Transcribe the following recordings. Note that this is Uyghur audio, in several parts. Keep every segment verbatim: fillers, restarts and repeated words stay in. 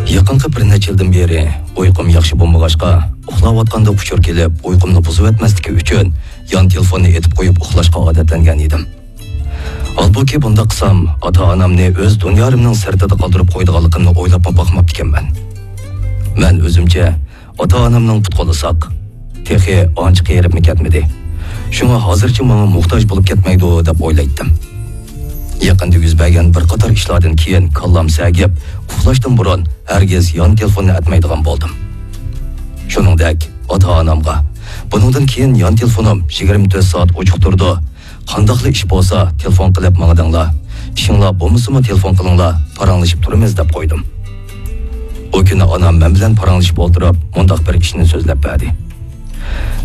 يېقىنقى بىر نەچچە يىلدىن بېرى ئۇيقۇم ياخشى بولمىغاچقا، ئۇخلاۋاتقاندا ئۇچۇر كېلىپ، ئۇيقۇمنى بۇزۇۋەتمەسلىكى ئۈچۈن يان تېلېفوننى ئېتىپ قويۇپ ئۇخلاشقا ئادەتلەنگەن ئىدىم. ھالبۇكى، بۇنداق قىلسام، ئاتا-ئانامنى ئۆز دۇنيارىمنىڭ سىرتىدا قالدۇرۇپ قويىدىغانلىقىمنى ئويلاپمۇ باقماپتىكەنمەن. مەن ئۆزۈمچە، ئاتا-ئانامنىڭ پۇت-قولى ساق، تېخى ئانچە قېرىپمۇ كەتمىدى. شۇڭا ھازىرچە ماڭا موھتاج بولۇپ كەتمەيدۇ، دەپ ئويلايتتىم. يېقىندا يۈز بەرگەن بىر قاتار ئىشلاردىن كېيىن كاللام سەگىپ، ئۇخلاشتىن بۇرۇن ھەرگىز يان تېلېفوننى ئەتمەيدىغان بولدۇم. شۇنىڭدەك، ئاتا-ئانامغا، بۇنىڭدىن كېيىن يان تېلېفونۇم يىگىرمە تۆت سائەت ئوچۇق تۇرىدۇ، قانداقلا ئىش بولسا، تېلېفون قىلىپ ماڭىدىڭلار. ئىشىڭلار بولمىسىمۇ تېلېفون قىلىڭلار، پاراڭلىشىپ تۇرىمىز، دەپ قويدۇم. ئۇ كۈنى ئانام مەن بىلەن پاراڭلىشىپ ئولتۇرۇپ، مۇنداق بىر ئىشنى سۆزلەپ بەردى.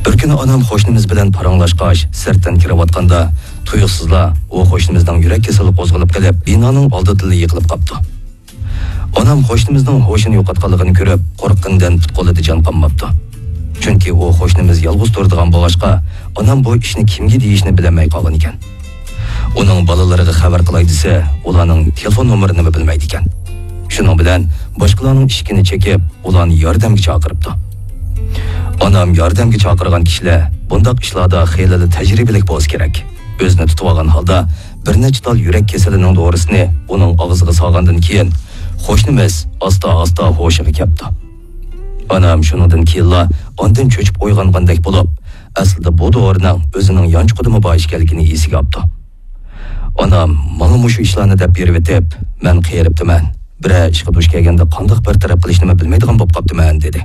بىر كۈنى ئانام قوشنىمىز بىلەن پاراڭلاشقاچ، سىرتتىن كىرىۋاتقاندا، تۇيۇقسىزلا ئۇ قوشنىمىزنىڭ يۈرەك كېسىلى قوزغىلىپ قېلىپ، بىنانىڭ ئالدىدىلا يىقىلىپ قاپتۇ. ئانام قوشنىمىزنىڭ ھوشىنى يوقاتقانلىقىنى كۆرۈپ، قورققىنىدىن پۇت-قولىدا جان قالماپتۇ. چۈنكى ئۇ قوشنىمىز يالغۇز تۇرىدىغان بولغاچقا، ئانام بۇ ئىشنى كىمگە دېيىشنى بىلەلمەي قالغانىكەن. ئۇنىڭ بالىلىرىغا خەۋەر قىلاي دېسە، ئۇلارنىڭ تېلېفون نومۇرىنىمۇ بىلمەيدىكەن. شۇنىڭ بىلەن باشقىلارنىڭ ئىشىكىنى چېكىپ، ئۇلارنى ياردەمگە چاقىرىپتۇ. ئانام ياردەمگە چاقىرغان كىشىلەر بۇنداق ئىشلاردا خېلىلا تەجرىبىلىك بولسا كېرەك. ئۆزىنى تۇتۇۋالغان ھالدا بىر نەچچە تال يۈرەك كېسىلىنىڭ دورىسىنى ئۇنىڭ ئاغزىغا سالغاندىن كېيىن، قوشنىمىز ئاستا-ئاستا ھوشىغا كەپتۇ. ئانام شۇنىڭدىن كېيىنلا ئاندىن چۆچۈپ ئويغانغاندەك بولۇپ، ئەسلىدە بۇ دورىنىڭ ئۆزىنىڭ يانچۇقىدىمۇ بار ئىكەنلىكىنى ئېسىگە ئاپتۇ. ئانام ماڭا مۇشۇ ئىشلارنى دەپ بېرىۋېتىپ، مەن قېرىپتىمەن، بىرەر ئىشقا دۇچ كەلگەندە قانداق بىر تەرەپ قىلىشنىمۇ بىلمەيدىغان بولۇپ قاپتىمەن، دېدى.